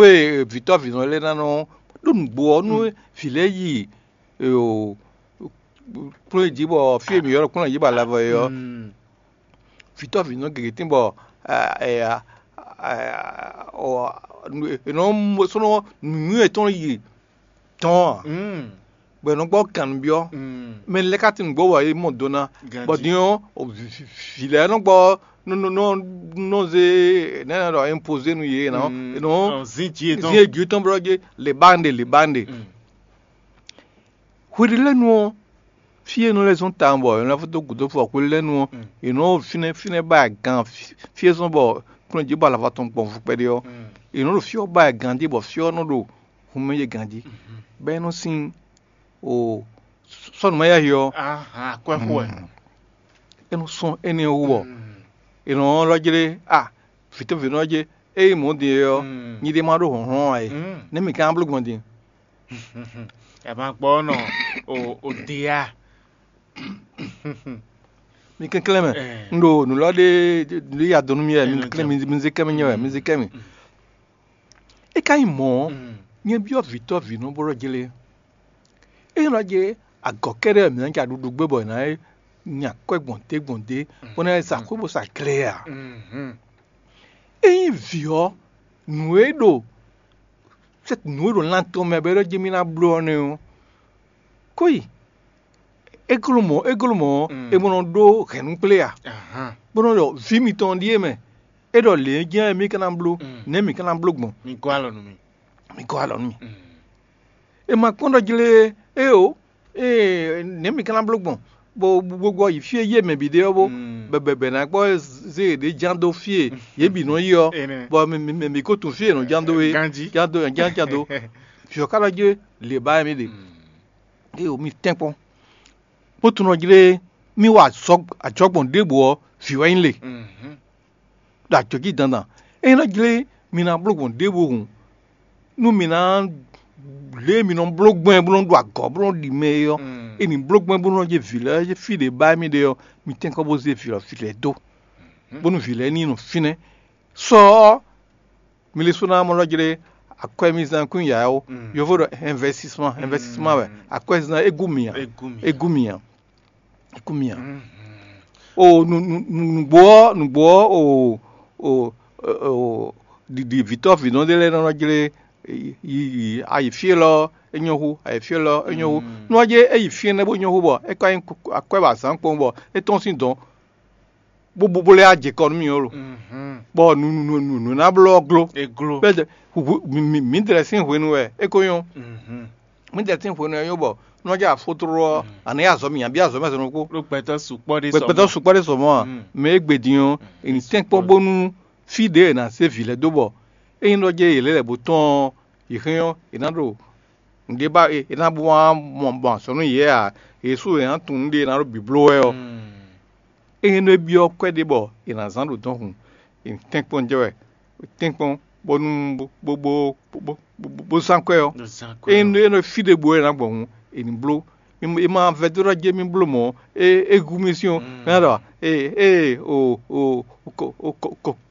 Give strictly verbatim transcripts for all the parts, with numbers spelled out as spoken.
Xwé vǐtɔ́ vǐnɔ lɛ́ɛ ná nɔ ɖó nǔgbó ɔ́, nú vǐ lɛ́ɛ yi kplɔ́n jí bɔ fí e mǐ ylɔ́ kplɔ́n jí bɔ alavɔ é ɔ́, vǐtɔ́ vǐnɔ gěgé tín bɔ è nɔ sɔ́ nǔnywɛ́ tɔn yi dɔn ǎ, bɔ è nɔ gbɔ kan nǔ byɔ́. Mɛ lɛ́ɛ ka tín nǔgbó bɔ é mɔ do ná, bɔ din ɔ́, vǐ lɛ́ɛ nɔ gbɔ nɔ zé nɛ́ ɖɔ impozé nú yě, nɔ zín jí yětɔn bɔ ɖɔ jí lěbáŋɖe lěbáŋɖe. Hweɖélɛ́nu ɔ́, fí e nɔ lɛ́ zɔ́n tawun bɔ è nɔ lɛ́ fó dó gǔdo fɔ hweɖélɛ́nu ɔ́, è nɔ fínɛ́ fínɛ́ ba ɛ gan, fí e zɔ́n bɔ kplɔ́n jí bɔ alava tɔn gbɔn fu kpɛɖé ɔ́, è nɔ ɖo fí ɔ́ ba ɛ ganjí bɔ fí ɔ́ nɔ ɖo hun mɛ yé ganjí, bɔ é nɔ sín o sɔ́nǔ ma yáyi ɔ́, akwɛ́xo wɛ. É nɔ sɔ́n énɛ́ wú bɔ è nɔ lɔ́ jlé a vǐtɔ́ví nɔ jɛ ényí mɔ̌ din é ɔ́, nyi ɖé ma ɖó hlɔ̌nhlɔ́n ǎ é. Nɛ̌ mǐ ka ná bló gbɔn din? Ɛ ma gbɔ nɔ o o de ya. Mi kɛnklɛ́n mɛ, un ɖo nǔ lɔ ɖé ɖé ya dɔn nú mi wɛ, mi kɛnklɛ́n mi zé kɛ́ mì nyɛ wɛ, mi zé kɛ́ mì. É ka nyí mɔ̌ ɔ́, nyɛ byɔ́ vǐtɔ́ vǐnɔ bó ɖɔ jlé. É nɔ jɛ agɔ̌ kɛ́ɖɛ́ wɛ mǐ ná ja ɖuɖu gbé bɔ è nǎ nya akwɛ́ gbɔn dě gbɔn dě, bó ná sa xwé bó sa gle ǎ. Ényí vǐ ɔ́, nǔ e ɖo nǔ e ɖo lan tɔn mɛ bɔ é ɖɔ jí mì ná bló ɔ́ nɛ́ ɔ́, kó yi. É gló mɔ̌, é gló mɔ̌ ɔ́, é mɔ nɔ ɖó hɛ̌nnu kplé ǎ, bó nɔ ɖɔ vǐ mitɔn ɖíe mɛ. É ɖɔ lě e jɛ́n mì ka ná bló, nɛ̌ mǐ ka ná bló gbɔn? Mi gɔ́ alɔ nú mì. Mi gɔ́ alɔ nú mì. É ma kpɔ́n ɖɔ jlé éeǒ, ée nɛ̌ mǐ ka ná bló gbɔn? Bó bó gbɔ yi fí e yí mɛ bǐ ɖe ɔ́ bó bɛbɛ ná gbɔ zé yěɖée ján dó fí e yě bǐ nɔ yi ɔ́, bɔ mɛ mɛ mɛ mǐ ko tunwun fí e è nɔ ján dó é, ján dó ján ján dó. Vǐ ɔ́ ka ɖɔ jlé lě ba wɛ mì ɖe. Éeǒ, mi tɛ́nkpɔ́n, bó tunwun ɖɔ jlé mì wa azɔ̌ ajɔ̌gbɔn ɖěbǔ ɔ́, vǐ wɛ nyí le. Ɖo ajɔ̌ jí dandan. Ényí nɔ jlé mi ná bló gbɔn ɖěvo hǔn, nú mi ná lě e mi nɔ bló gbɔn ɛ bó nɔ ɖu agɔ̌ bó nɔ ɖi mɛ é ɔ́, è nǐ bló gbɔn ɛ bó nɔ jɛ vǐ lɛ́ɛ fí ɖě ba émí ɖe ɔ́, mi tɛ́nkɔ́n bó zé vǐ ɔ́ fí lɛ́ɛ dó, bónú vǐ lɛ́ɛ ní nɔ fínɛ́. Sɔ ɔ́, mi ɖésú ná mɔ lɔ jlé akwɛ́mizán kún yǎ ó. Yovo ɖɔ investissement, investissement wɛ. Akwɛ́zán é gú mi ǎ. É gú mi ǎ. É kú mì ǎ. O nu nu nu nǔgbó ɔ́ nǔgbó ɔ́ o o o ɖiɖi vǐtɔ́ vǐnɔ ɖé lɛ́ɛ nɔ jlé yi yi ayi fí élɔ́ é nyɔ́ hú, ayi fí élɔ́ é nyɔ́ hú. Nú ɔ́ jɛ é yi fí énɛ́ bó nyɔ́ hú bɔ é ka nyí akwɛ́ ba zǎn kpɔ́n bɔ é tɔ́n sín dɔ̌n bó bó lɛ́ ajě kɔ nú mì ó lo. Bɔ nǔ nǔ nǔ nǔ ná bló ɔ́ gló. Gló. Bɛ́ mǐdɛɛ sín hwenu wɛ é ko nyɔ́. Mǐdɛɛ sín hwenu wɛ é nyɔ́ bɔ nú ɔ́ jɛ afótló ɔ́, a nǎ yi azɔ̌ mǐ nya bí azɔ̌ mɛ sɔnukú. Ɖó gbɛtɔ́ sukpɔ́ ɖé sɔ gbɛtɔ́ sukpɔ́ ɖé sɔ mɔ̌ a? Mɛ e gbe din ɔ́, è nǐ tɛ́nkpɔ́n bónú fí ɖě è nǎ zé vǐ lɛ́ɛ dó bɔ ényí ɖɔ jɛ yě lɛ́ lɛ̌ bó tɔ́n ɔ́, yě hɛn ɔ́, è nǎ ɖo nǔɖé ba è nǎ bó wá mɔ mɔ azɔ̌ nú yě ǎ. Yě sú è nǎ tunwun nǔɖé è nǎ ɖo bǐbló wɛ ɔ́. Ényí nú é byɔ́ kwɛ́ ɖé bɔ è nǎ zán ɖo dɔ̌n hǔn, è nǐ tɛ́nkpɔ́n jɛ wɛ, tɛ́nkpɔ́n bónú bó bó bó bó bó zán kwɛ́ ɔ́. Ényí nú é nɔ fí ɖěbǔ wɛ è nǎ gbɔn hǔn, è nǐ bló. È ma vɛdó ná jɛ mì bló mɔ̌, é é hu mì sín ɔ́, é ná ɖɔ ee ee o o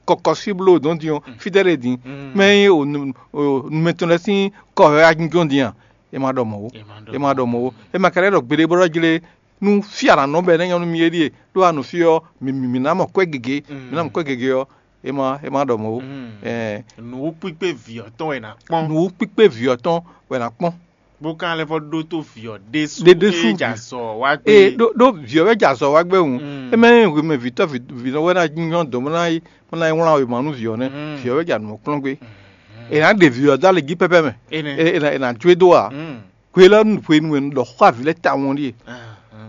kɔkɔsí bló dɔn din ɔ́, fítɛ́ ɖe din, mɛ nyí o numɛ tɔn lɛ́ɛ sín kɔ wɛ wá jínjɔ́n din a? É ma ɖɔ mɔ̌ ó. É ma ɖɔ mɔ̌ ó. É ma ka lɛ́ ɖɔ gbeɖé bó ɖɔ jlé nú fí a nǎ nɔ bɔ é ná nyɔ́ nú mì é ɖíe, ɖó a nɔ fí ɔ́, mǐ mǐ ná mɔ kwɛ́ gěgé, mǐ ná mɔ kwɛ́ gěgé ɔ́, é ma é ma ɖɔ mɔ̌ ó. Ɛɛ, Nǔwúkpíkpé vǐ ɔ́ tɔn wɛ è nǎ kpɔ́n. Nǔwúkpíkpé vǐ ɔ́ tɔn wɛ è nǎ kpɔ́n. Bó ka lɛ́ vɔ ɖótó vǐ ɔ́ ɖésú Ɖé ɖésú. Ée jɛ azɔ wá gbé. Ee ɖó ɖó vǐ ɔ́ wɛ jɛ azɔ wá gbé hǔn. É mɛ nyí hwemɛ vǐtɔ́ vǐnɔ wɛ ná nyɔ́ dɔ̌n bó ná yi bó ná yi wlán wěma nú vǐ ɔ́ nɛ́. Vǐ ɔ́ wɛ jɛ anǔ ɔ́ kplɔ́n gbé. È nǎ ɖe vǐ ɔ́ dó alɛ jí pɛ́pɛ́ mɛ. È nǎ è nǎ jó e dó ǎ. Hwe lɛ́ɛ hwenu e un ɖɔ xó avǐ lɛ́ɛ tawun ɔ́ ɖíe.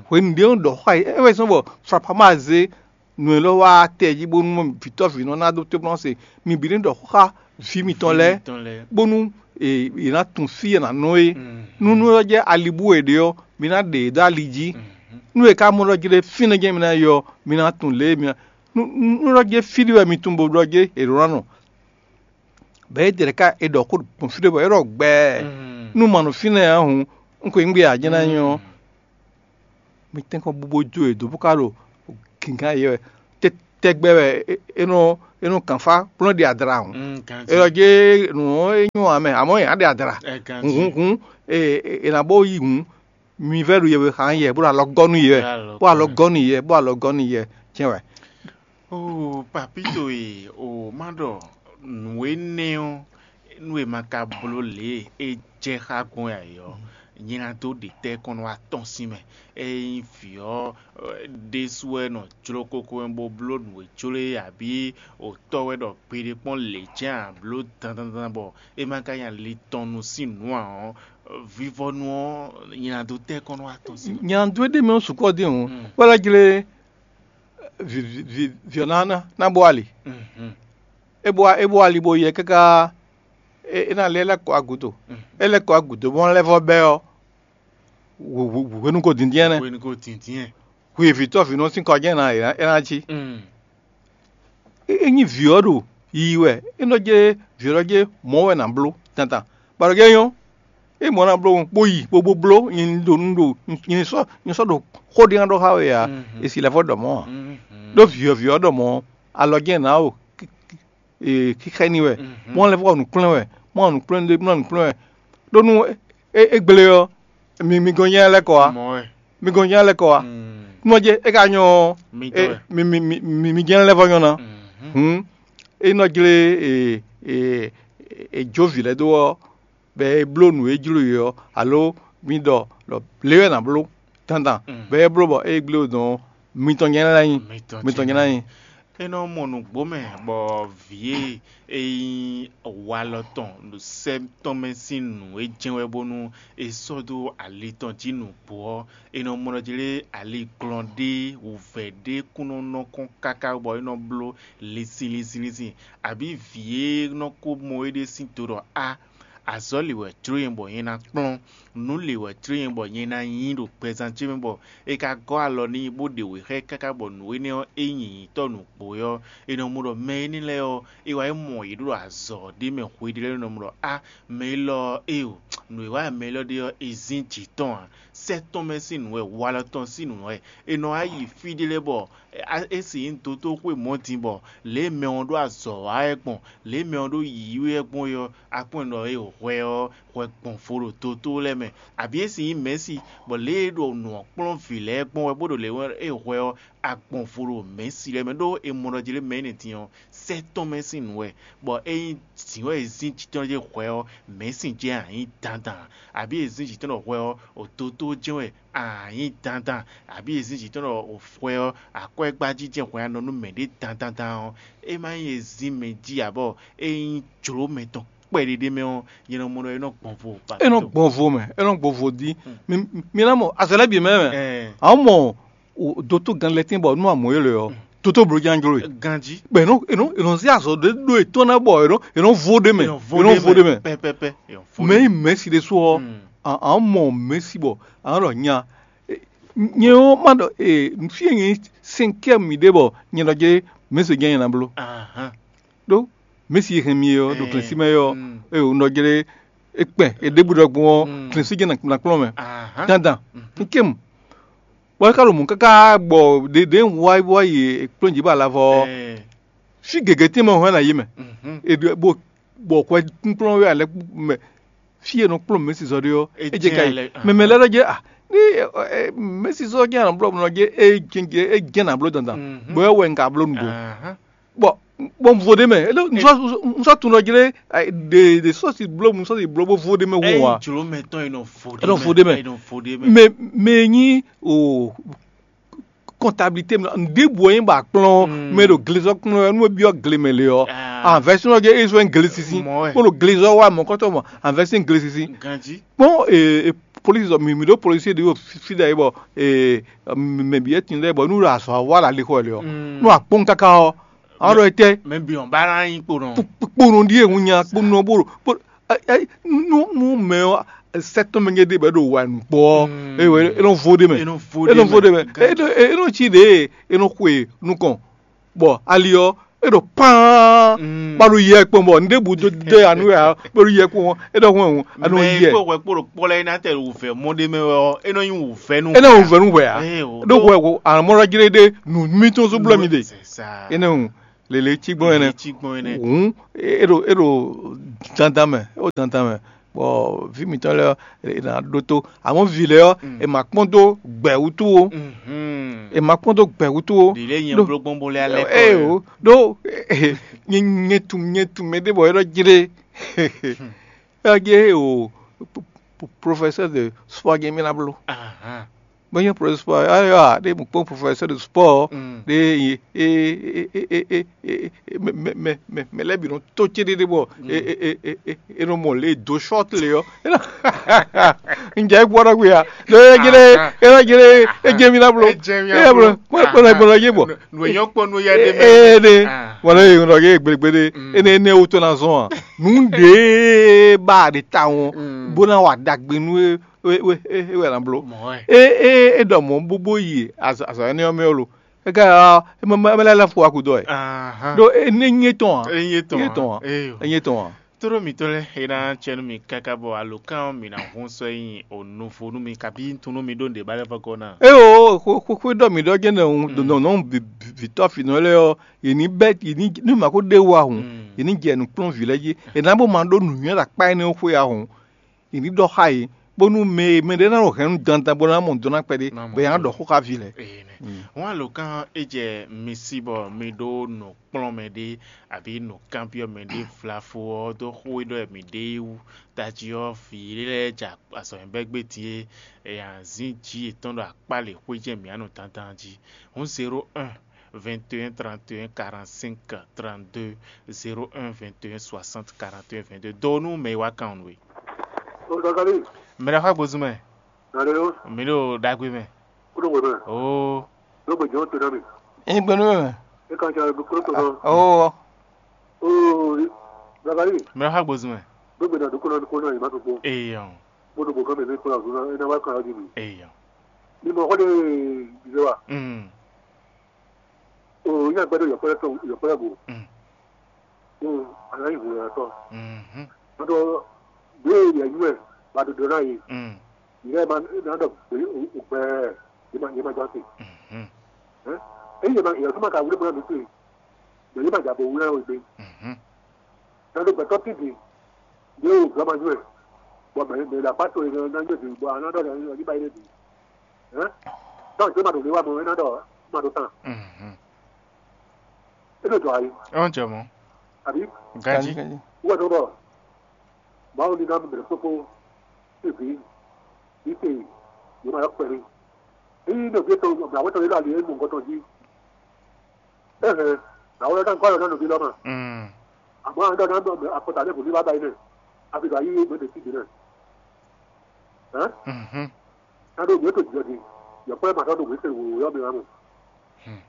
Hwenu ɖě un ɖɔ xó avǐ é wɛ zɔ́n bɔ Flapama zé nǔ élɔ́ wá tɛ jí bónú vǐtɔ́ vǐnɔ ná dó tɔ́ se. Mi bǐ ní ɖɔ xó xá vǐ mitɔn lɛ́ɛ, bónú è è nǎ tunwun fí e è nǎ nɔ é. Nú nú ɔ́ jɛ ali bú è ɖe ɔ́, mi ná ɖe yě dó ali jí. Nú è ka mɔ ɖɔ jlé fínɛ́ jɛ́n mi ná yi ɔ́, mi ná tunwun lě e mi ná nú nú ɖɔ jlé fí ɖé wɛ mi tunwun bó ɖɔ jlé è ɖǒ ná nɔ. Bɔ é ɖe ɖeka è ɖɔ xó gbɔn fí ɖé bɔ é ɖɔ gbɛɛ. Nú ma nɔ fínɛ́ ǎ hǔn, un ko nyí gbé ǎ jɛ́n ná nyí ɔ́. Mi tɛ́nkɔ́n bú bó jó yě dó bó ka ɖo gǐngán yě wɛ. Te tɛgbɛ wɛ é nɔ é nɔ kàn fá kplɔ́n ɖi adra hǔn. É ɔ́ jɛ nǔ ɔ́ é nyɔ́ ǎ mɛ, amɔ̌ yě ná ɖe adra. Hǔnhún è nǎ bó yí hǔn, mi vɛ́ ɖu yɛhwe xá yɛ bó ɖo alɔ gɔ́ nú yɛ, bó alɔ gɔ́ nú yɛ, bó alɔ gɔ́ nú yɛ. Jɛ́n wɛ. Oo, papito e o ma ɖɔ nǔ énɛ́ ɔ́, nú e ma ka bló lě e é jɛ xá gbɔn ǎ é ɔ́, nyɛ ná dó ɖe tɛ́ kɔn nú atɔ́n sín mɛ. Ényí vǐ ɔ́ ɖésú wɛ nɔ jló kókó wɛ bó bló nǔ e jló e abǐ o tɔ́ wɛ ɖɔ gbeɖé kpɔ́n lě jɛ́n ǎ bló dandandan bɔ é ma ka nya li tɔn nu sín nǔ ǎ ɔ́, vivɔnu ɔ́ nyɛ ná dó tɛ́ kɔn nú atɔ́n sín mɛ. Nya dó é ɖ'é mɛ ɔ́ sukpɔ́ dín hǔn, bó lɛ́ jlé vǐ ɔ́ ná ná bó ali. É bó é bó ali bó yɛ káká é ná lɛ́ lɛ́ kɔ agǔdo. É lɛ́ kɔ agǔdo bó lɛ́ vɔ bɛ́ ɔ́, hwenu ko dǐndín ɛnɛ. Hwenu ko dǐndín ɛ. Hwi vǐtɔ́ vǐnɔ sín kɔ jɛ́n ná é ná cí. Ényí vǐ ɔ́ ɖo yiyi wɛ, é nɔ jɛ vǐ ɔ́ jɛ mɔ̌ wɛ nǎ bló tantan. Bɔ ɖɔ jɛ nyɔ́, é mɔ̌ ná bló bó yi bó bó bló nyi ɖo nyi sɔ́ nyi sɔ́ ɖo xó ɖé ná ɖɔ xá we ǎ. È si lɛ́ vɔ ɖɔ mɔ̌ ǎ. Ɖó vǐ ɔ́ vǐ ɔ́ ɖɔ mɔ̌ alɔ jɛ́n nǎ o xixɛ n'i wɛ, mɔ̌ lɛ́ vɔ nǔ kplɔ́n wɛ, mɔ̌ nǔ kplɔ́n ɖé mɔ̌ nǔ kplɔ́n wɛ. Ɖó nú é gblé ɔ́, mi mi gɔn nyɛ lɛ́ kɔ wá. Mi gɔn nyɛ lɛ́ kɔ wá. Nú ɔ́ jɛ é ka nyɔ ɔ́, mi mi mi mi mi jɛ́n lɛ́ vɔ nyɔ ná. Hǔn é nɔ jlé è è è jó vǐ lɛ́ɛ dó ɔ́, bɔ é bló nǔ e jló e ɔ́, alo mi ɖɔ ɖɔ lě wɛ nǎ bló dandan, bɔ é bló bɔ é gblé o dɔn ɔ́, mitɔn nyɛ lɛ́ nyí. Mitɔn nyɛ lɛ́ nyí. É nɔ mɔ nǔgbó mɛ bɔ vǐ e é nyí walɔ tɔn ɖo sɛ́ tɔn mɛ sín nǔ e jɛ́n wɛ bónú è sɔ́ dó ali tɔn jí nǔgbó ɔ́, è nɔ mɔ ɖɔ jlé ali glɔn ɖé wǔvɛ́ ɖé kún nɔ nɔ kɔn káká bɔ é nɔ bló linsin linsin linsin, abǐ vǐ e nɔ ko mɔ éɖée sín do ɖɔ á, azɔ̌ lě wɛ jló nyɛ bɔ nyɛ ná kplɔ́n, nǔ lě wɛ jló nyɛ bɔ nyɛ ná nyí ɖo gbɛzán ce mɛ bɔ è ka gɔ́ alɔ n'i bó ɖe wě xá ɛ káká bɔ nǔ énɛ́ ɔ́ é nyí nyǐtɔ́ nǔgbó ɔ́, è nɔ mɔ ɖɔ mɛ énɛ́ lɛ́ɛ ɔ́, é wá yi mɔ yě ɖo azɔ̌ ɖé mɛ hweɖé lɛ́ɛ nɔ mɔ ɖɔ á, mɛ élɔ́ ɔ́, éeǒ, nǔ e wa mɛ élɔ́ ɖe ɔ́, è zín jǐ tɔn ǎ. Sɛ́ tɔn mɛ sín nǔ wɛ, walɔ tɔn sín nǔ wɛ. È nɔ wá yi fí ɖé lɛ́ɛ bɔ é si nyí dotóxwé mɔ̌ din bɔ lě e mɛ ɔ́ ɖó azɔ̌ wa wɛ gbɔn, lě e mɛ ɔ́ ɖó yǐyí wɛ gbɔn é ɔ́, a kpɔ́n ɖɔ é hwɛ ɔ́, hwɛ gbɔn vo ɖo dotó lɛ́ɛ mɛ, abǐ é si nyí mɛ̌si, bɔ lě e ɖo nǔ ɔ́ kplɔ́n vǐ lɛ́ɛ gbɔn wɛ bó ɖo lě é hwɛ ɔ́, a gbɔn vo ɖo mɛ̌si lɛ́ɛ mɛ, ɖó è mɔ ɖɔ jlé mɛ énɛ́ din ɔ́, sɛ́ tɔn mɛ sín nǔ wɛ, bɔ ényí dǐn wɛ è zín jǐ tɔn jɛ hwɛ ɔ́, mɛ̌si jɛ́n a nyǐ dandan, abǐ è zín jǐ tɔn ɖɔ hwɛ ɔ́, o dotó jɛ́n wɛ a nyǐ dandan, abǐ è zín jǐ tɔn ɖɔ o hwɛ ɔ́, akwɛ́gbájí jɛ́n hwɛ a nɔ nú mɛɖé dandandan ɔ́, é má nyí e zín mɛ jí ǎ bɔ é nyí jlǒ mɛtɔn kpɛɖé ɖé mɛ ɔ́, nyɛ nɔ mɔ ɖɔ é nɔ gbɔn vo. É nɔ gbɔn vo mɛ, é nɔ gbɔn vo dín. Mi ná mɔ azɔ̌ lɛ́ɛ bǐ mɛ mɛ. Ǎ mɔ dotó gan lɛ́ tín bɔ nú amɔ̌ é lɛ ɔ́, dotó bló ján jló e. Ganjí. Bɔ è nɔ è nɔ è nɔ zé azɔ̌ ɖé ɖó è tɔn ná bɔ è nɔ è nɔ vo ɖé mɛ, è nɔ vo ɖé mɛ. Pɛpɛpɛ. Mɛ yi mɛ̌si ɖésú ɔ́, ǎ mɔ mɛ̌si bɔ ǎ ɖɔ nya. Nyɛ ɔ́ má ɖɔ fí e nyɛ sɛnkɛ́ mì ɖe bɔ nyɛ nɔ jɛ mɛ̌si jɛ́n nyɛ ná bló. Ɖó mɛ̌si e hɛn mi ɔ́ ɖo klɛ́nsi mɛ ɔ́, e wǒ nɔ jlé é kpɛn è ɖěbǔ ɖɔ gbɔn ɔ́, klɛ́nsi jɛ́n ná kplɔ́n mɛ. Dandan, un kɛ́m. Bɔ é ka ɖo mɔ̌ káká bɔ ɖě ɖě un wá wá yi kplɔ́n jǐ bɔ alavɔ ɔ́, fí gěgé tɛ́nmɛ hɔn ná yi mɛ. È ɖo bó bɔ hwɛ kúnkplɔ́n wɛ alɛ mɛ fí e nɔ kplɔ́n mɛ̌sizɔ ɖé ɔ́, é jɛ ka yi. Mɛ mɛ lɛ́ɛ ɖɔ jɛ a ní mɛ̌sizɔ jɛ anɔ blɔ nɔ jɛ é jɛ é jɛ nǎ bló dandan, bɔ é wɛ un ka bló nǔgbó. Bɔ bɔ un vo ɖé mɛ, un sɔ tun nɔ jlé ɖe ɖe sɔsi bló mu sɔsi bló bó vo ɖé mɛ hu wa. Jló mɛ tɔn e nɔ vo ɖé mɛ. Mɛ mɛ nyi o kɔntabilité mɛ ɖěbǔ ɔ́ nyí bɔ a kplɔ́n mɛ ɖo glezɔ́ kplɔ́n wɛ nú é byɔ́ gle mɛ le ɔ́, anvɛsínɔ jɛ é zɔ́n glesisi bó ɖo glezɔ́ wa mɔ̌kɔtɔ́ mɔ anvɛsín glesisi. Kpɔ́n polisi mǐ ɖó polisi ɖé ɖo fí ɖe bɔ mɛ bǐ ɛ́ tin lɛ́ɛ bɔ nú ɖo azɔ̌ wa ɖo alixɔ le ɔ́, nú akpɔ́n káká ɔ́, àwọn ɖɔ etɛ. Mɛ bǐ ɔ́ ba ná nyí kponɔ. Kponɔ ɖíe hun nya kponɔ bó ɖo nú nú mɛ ɔ́ sɛ́ tɔn mɛ nyɛ ɖe bɔ é ɖo wa nǔkpɔ ɔ́, é nɔ vo ɖe mɛ. É nɔ vo ɖe mɛ. É nɔ cí ɖe é nɔ xwe nukɔn. Bɔ ali ɔ́, É ɖo paan, bɔ a ɖo yɛ kpɔn bɔ nǔɖé bǔ dó dó ya nú wɛ ǎ, bɔ a ɖo yɛ kpɔn, é ɖɔ hɔn hɔn, a nɔ mɛ yɛ. Kpó hwɛ kpó ɖo kpɔ́ lɛ́ɛ ná tɛ wǔvɛ́ mɔ ɖé mɛ ɔ́, é nɔ nyí wǔvɛ́ nú. É nɔ wǔvɛ́ nú hwɛ ǎ. Ɖó hwɛ ko amɔ́ jlé ɖé nǔ mítɔn zó blɔ́ mi ɖe. É nɔ lele cí gbɔn ɛnɛ. Hǔn é ɖo é ɖo dandan mɛ, é ɖo dandan mɛ. Bɔ vǐ mǐtɔn lɛ́ɛ ɔ́, è nǎ ɖótó. Amɔ̌ vǐ lɛ́ɛ ɔ́, è ma kpɔ́n dó gbɛ̌ wútu ó. È ma kpɔ́n dó gbɛ̌ wútu ó. Ɖi lě nyɛ bló gbɔn bó lɛ́ alɛ kɔ. Ée o, ɖó nyɛ nyɛ tunwun nyɛ tunwun mɛ ɖé bɔ é ɖɔ jlé. É ɔ́ jlé o, professeur de sport jɛ́n mì ná bló. Bó nyí professeur sport, ayɔ ɖé mɔ kpɔ́n professeur de sport ɖé e e e e e e e mɛ mɛ mɛ mɛ lɛ́ɛ bǐ nɔ tó céɖéɖé bɔ e e e e e nɔ mɔ lě do short lě ɔ́. Un jɛ gbɔ ɖɔ gbe ya. Ɖo e jɛ ɖe e jɛ ɖe e jɛ mi na blo. E jɛ mi na blo. Kpɔlɔ kpɔlɔ kpɔlɔ yé bɔ. Nǔ e nyɔ kpɔ nú ya ɖe mɛ. Ee ɖe. Wala ye ŋlɔ ye gbelegbele. Ene ene wo to na zɔn a. Nǔ ɖe ba ɖe ta wɔn. Bó ná wà dagbe nú e e e e wɛ na blo. E e e dɔ mɔ bó bó yi azɔ azɔ ɛnɛ ɔ́ mɛ ɔ́ lo. É ká ɔ́, é mɛ mɛ lɛ́ lɛ́ fo wá kudɔ ɛ. Ɖó é ní nyé tɔn ǎ. É nyé tɔn ǎ. Nyé tɔn ǎ. Éyo. É nyé tɔn ǎ. Tóɖó mǐtɔn lɛ́ɛ é ná cɛ nú mi káká bɔ alǒkan ɔ́ mǐ ná hun sɔ́ nyi onuvo nú mi kabí tunú mi ɖó nǔɖé ba lɛ́ vɔ́ gɔ́ ná. É o xwé xwé xwé ɖɔ mǐ ɖɔ jɛ́n nɔ ɖo nɔ nɔ vǐtɔ́ fǐnɔ lɛ́ɛ ɔ́, yě ní bɛ́ yě ní nú mǎ ko ɖé wú ahun, yě ní jɛ nǔkplɔ́nvǐ lɛ́ɛ jí. È nǎ bó ma ɖó nǔnywɛ́ ɖo akpá énɛ́ xwé ahun. È ní ɖɔ xá yě, bónú mɛ e mɛɖé ná ɖo hɛ̌nnu dandan bó ná mɔ dɔn ná kpɛɖé, bɔ è nǎ ɖɔ xó xá vǐ lɛ́ɛ. Hɔn alǒkan é jɛ mi sí bɔ mi ɖó nǔ kplɔ́n mɛ ɖé abǐ nǔ kanbyɔ́ mɛ ɖé vlafo ɔ́ dó xó e ɖɔ mǐ ɖe é wú. Tají ɔ́, vǐ lɛ́ɛ ja azɔ̌ nyi bɛ́ gbé din é, è nǎ zín jǐ yětɔn ɖo akpá lě xwé jɛ́n mǐ á nɔ dandan jí. Hǔn zéro un, vingt et un, trente et un, quarante-cinq, trente-deux, zéro un, vingt et un, soixante, quarante et un, vingt-deux. Dó nú mɛ e wá kan ɔ́ nú we. O Zakari, Mɛ ɖaxó agbozún mɛ, nane o, mǐ ɖo ɖagbe mɛ. Kudo gbe mɛ, Oo, ló gbe jɔn to na mi. Nyí gbe nú mɛ. E kan ca gbe kúrò to na. Oo, Oo, Zakari, mɛ ɖaxó agbozún mɛ. Gbogbo na dukɔ na dukɔ na yi ma to kpo. Eyɔn, Mo do bo kan mɛ mi kura zuna e na wa kan di mi. Eyɔn. Ni mo xɔ de bize wa. Mm. O nya gbɛdo yɔkpɛlɛ tɔn yɔkpɛlɛ bo. Mm. O ana yi hu ya tɔ. Mhm. Mo do be ya yu e ba do do na yi. Mm. Yi ma na do be o gbɛ yi ma yi ma jɔ se. Mhm. Eh? E yi ma ya kuma ka wule bo na mi pe. Be yi ma ja bo wule o gbe. Mhm. Na do gbɛtɔ ti di. Ye o gba ma yu e. Bɔ mɛ mɛ la pa to e na yu e bi bɔ ana do na yu ba yi de bi. Hein? Tɔn je ma do le wa mo e na do ma do tan. Mhm. E do do ayi. Ɔn jɛ mɔ. Abi? Ganji. Wa do bɔ. Mawu ní ná mɛ kpókpó fífi ní te yě ma yɔ kpɛɖé. Ényí nɔví tɔn mɛ awetɔn yě ɖo ali é mɔ nukɔn tɔn jí. Éhɛn, awetɔn ná kɔ yɔ ná nɔví lɔ ma. Mm. Àmọ́ àwọn ọ̀dọ́ náà bẹ̀rẹ̀ àpótá lẹ́kùn ní bàbá yìí náà. A fi gba yí gbé de síbi náà. Hɛn? Mhm. Ná ɖó gbé tó jìjɔ di. Yɔ̀kpɔ́ ẹ̀ mà sɔ́ ɖo gbé tẹ̀lé wòwò yɔ mi wá mọ̀. Hmm.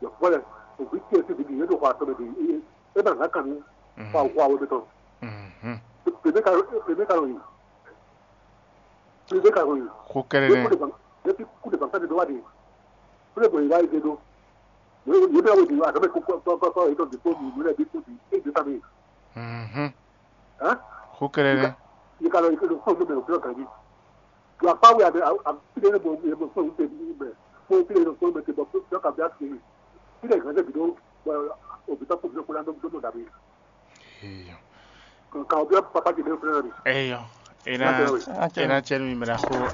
Yɔ̀kpɔ́ lɛ, òbí tí ẹ sì di yé ɖo xɔ atɔmɛ di. É bá nà kàn ní. Mhm. Xɔ àwọn àwọn mi tɔn. Mhm. Pèmí ka pèmí ka lọ yìí. Pèmí ka lọ yìí. Xó kɛ́ɖɛ́ Yé nɛ́. Kú de bàǹkà yé ti kú de bàǹkà de dó wá di. Kú de bọ̀ yìí wá yìí de dó. Yé yé bẹ́ẹ̀ wò di wá àtọ́mẹ́ kó kọ́ kọ́ kọ́ yìí tó di kó mi ìlú rẹ̀ bí kó di é di fámi. Mhm. Hɛn? Xó kɛ́ɖɛ́ nɛ́. Yé ka lọ yìí kó lọ fún mi bẹ̀rù fúlọ̀ kàdí. Yɔ akpa wɛ abe abe fide ne bo ye bo fún mi tɛ bi bɛ fún fide ne fún mi tɛ bɔ fún fún kabi asi mi fide gan tɛ bi do bɔ obi tɔ fún mi kó la do do dabi. Eyɔ. Ka obi papa ti ne fún mi. Eyɔ. Ena Ena cɛ mi mra xo